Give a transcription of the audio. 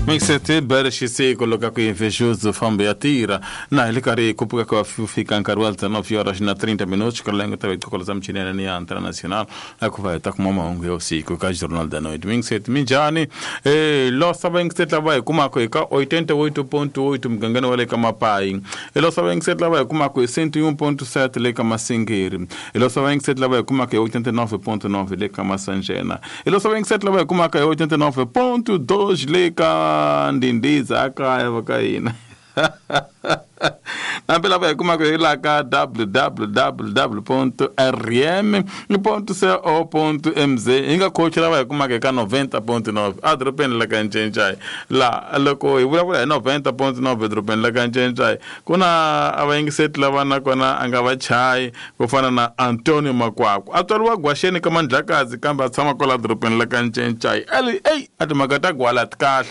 Mixete bere xisiku loko ku invejoso fambe ya tira na hi le karhi hi kupuka ka fika nkarhi wa 19 horas na 30 minutos kalengo ta vitokola za michinene ni ya internacional a ku va hi ta kuma mahungu ya usiku ka Jornal da Noite. Mixete minjhani? Losa va yingiseti lava hi kumaka hi ka 88.8 mugangeni wa le ka Mapayi. Losa va yingiseti lava hi kumaka hi 101.7 le ka Masingiri. Losa va yingiseti lava hi kumaka hi 89.9 le ka Masanjena. Losa va yingiseti lava hi kumaka hi 89.2 le ka Ndindiza kaya va ka hina. Nambe lava hi kumaka hi la ka www.rm.co.mz hi nga khochi lava hi kumaka eka 90.9 edorobeni la ka Ncencai. La loko hi vulavula hi 90.9 edorobeni la ka Ncencai ku na a vayingiseti lava nakona a nga va chayi ku fana na Antonio Makwakwa, a tswariwa Gwaxeni ka Mandlakazi kambe a tshama kwala dorobeni la ka Ncencai. Eyi, a timhaka ta gwala ti kahle.